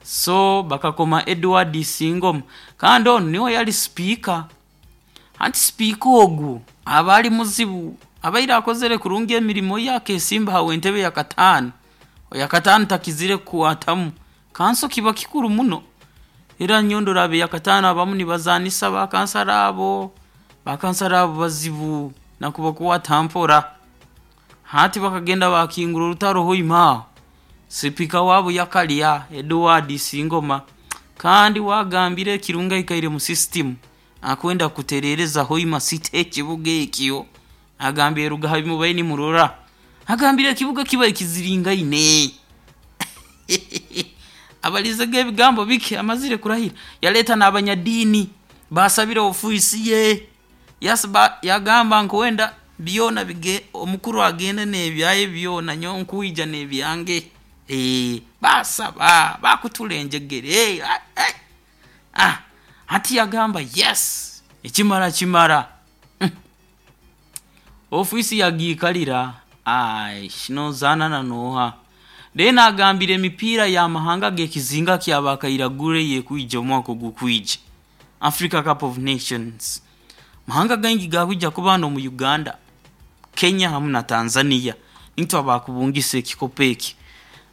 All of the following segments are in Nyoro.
So bakakoma Edward Isingoma, kandi onu niwe yali sipiika. Anti sipiika ogu aba ali muzibu, abaire akozere kurungi emirimo ye, akeesimba ha w'entebe yakataano, oyakataano takizire kukwatamu. Kanso kiba kikuru muno, era nyowe ndora ab'eyakataano abamu nibazaanisa bakansara abo, bakansara abo bazibu nakubakwata mpora. Hati bakagenda baakingura orutaro Hoima aho, sipiika waabo yakalya Edward Isingoma, kandi waagambire ekirungi aikaire mu system, akwenda kutereereza Hoima City ekibuga ekyo, agambire ruga ha bimubaire nimurora, agambire ekibuga kibaire kiziringaine. Abaliizege ebigambo bike amazire kurahira, yaleeta n'abanyadiini baasabire ofiisi ye, yagamba nkwenda byona bige omukuru agende n'ebyaye byona nyowe nkwija n'ebyange. Baasaba, baakutura enjegere, hati yagamba yes, ekimara kimara. Ofiisi yagiikalira, noozaana na n'oha? Then agambire emipiira y'amahanga g'ekizinga kya Bakairagure eyekwija omwaka ogukwija, Africa Cup of Nations. Amahanga gaingi gakwija kuba hanu omu Uganda, Kenya hamu na Tanzania, nitwe abaakubungisa ekikopo eki.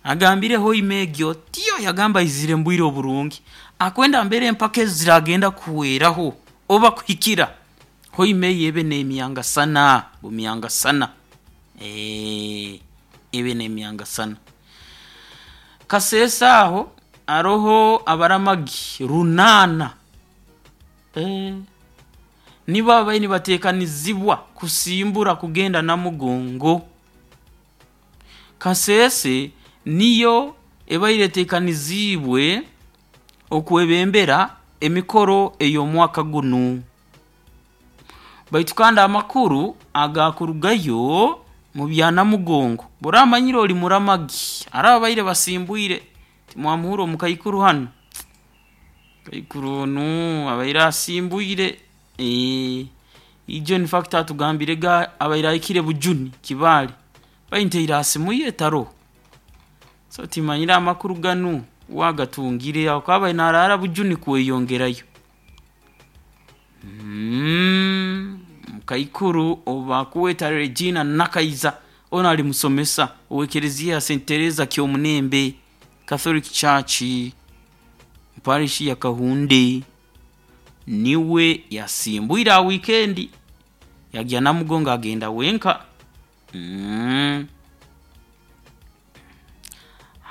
Agambire Hoima egyo tiyo yagamba aizire mu bwire oburungi, akwenda mbere empaka ezi ziraagenda kuhweraho oba kuhikira, Hoima eyo ebe n'emyangasana, bumyangasana, ebe n'emyangasana. Kasese aho haroho abaramagi runaana, nibo ababaire nibateekanizibwa kusimbura kugenda Namugongo. Kasese niyo ebaire eteekaniziibwe okwebembera emikoro ey'omwaka gunu. Baitu kandi amakuru agaakurugayo mu bya Namugongo, bw'oraamanyire ori muramagi, hariho ababaire basimbwire, timwamuhurra omukaikuru hanu, omukaikuru onu abaire asimbwire, ijo infact atugambirege abaire ahikire Bujuni, Kibaale, baintaire ha simu ye taroho. So timanyire amakuru ganu waagatungire habwokuba abaire naaraara Bujuni kweyongerayo. Omukaikuru ou bakweta Regina Nakaiza, onu ali musomesa ow'ekereziya ya St. Teresa Kyomunembe Catholic Church, parish ya Kahunde, niwe yasimbwire ha wiikendi yagya Namugongo agenda wenka.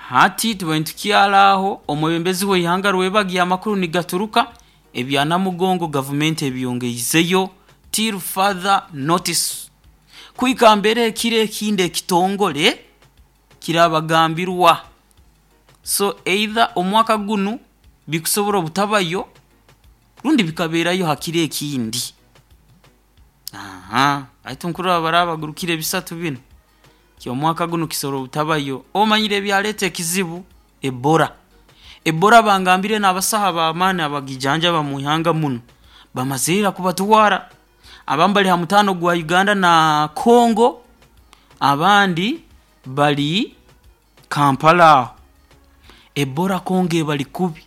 Hati tubaire nitukyara aho, omwebembezi w'eihanga Rwebagyo amakuru nigaturuka ebya Namugongo gavumenti ebyongeizeyo till further notice. Kuhika mbere ekiro ekindi ekitongore kirabagambirwa. So either omwaka gunu bikusobora obutabayo rundi bikabeerayo ha kiro ekindi. Baitu nkurora baraaba bagurukire bisatu binu, ky'omwaka gunu kisobora obutabayo. Omanyire ebyaleeta ekizibu? Ebola. Ebola bangambire n'abasaho ab'amaani abagijanjaba mu ihanga munu, bamazire ira kubatwara. Abamu bali ha mutaano gwa Uganda na Congo, abandi bali Kampala aho. Ebola Congo ebali kubi.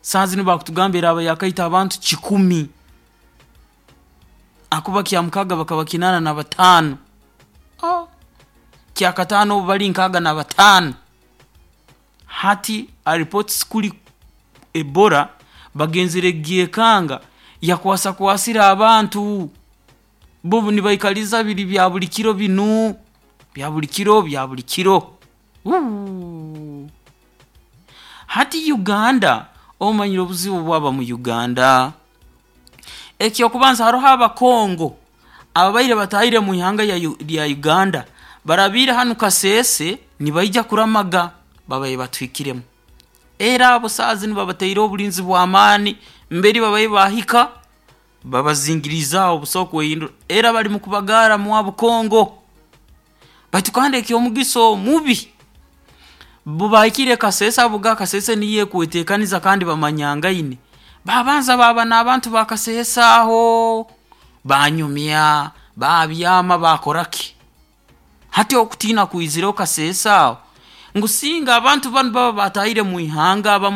Saaha zinu bakutugamba eraaba yaakaita abantu kikumi, ahakuba kyamukaaga bakaba kinaana na bataano, kyakataano obu bali nkaaga na bataano. Hati reports kuri Ebola bagenzere kugyekanga yakwasakwasire abantu, bo nibaikaliza biri bya buli kiro binu, bya buli kiro, bya buli kiro. Hati Uganda, omanyire obuzibu obwaba mu Uganda? Eky'okubanza haroho Abakongo ababaire bataahire mu ihanga rya Uganda, barabiire hanu Kasese nibaija kuramaga, babaire batuhikiremu. Era abo saaha zinu babataireho obulinzi bw'amaani, mbere babaire baahika, babazingiriize aho busaho kwehindura, era bali mu kubagarra mwabu Congo. Baitu kandi eky'omugisa omubi, bo bahikire Kasese ahabwokuba Kasese niyo ekweteekaniza kandi bamanyangaine, baabanza baaba n'abantu ba Kasese aho, baanyumya, baabyama, baakoraki. Hati okutiina kwizireho Kasese aho, ngu singa abantu banu baba baataahire mu ihanga abamu.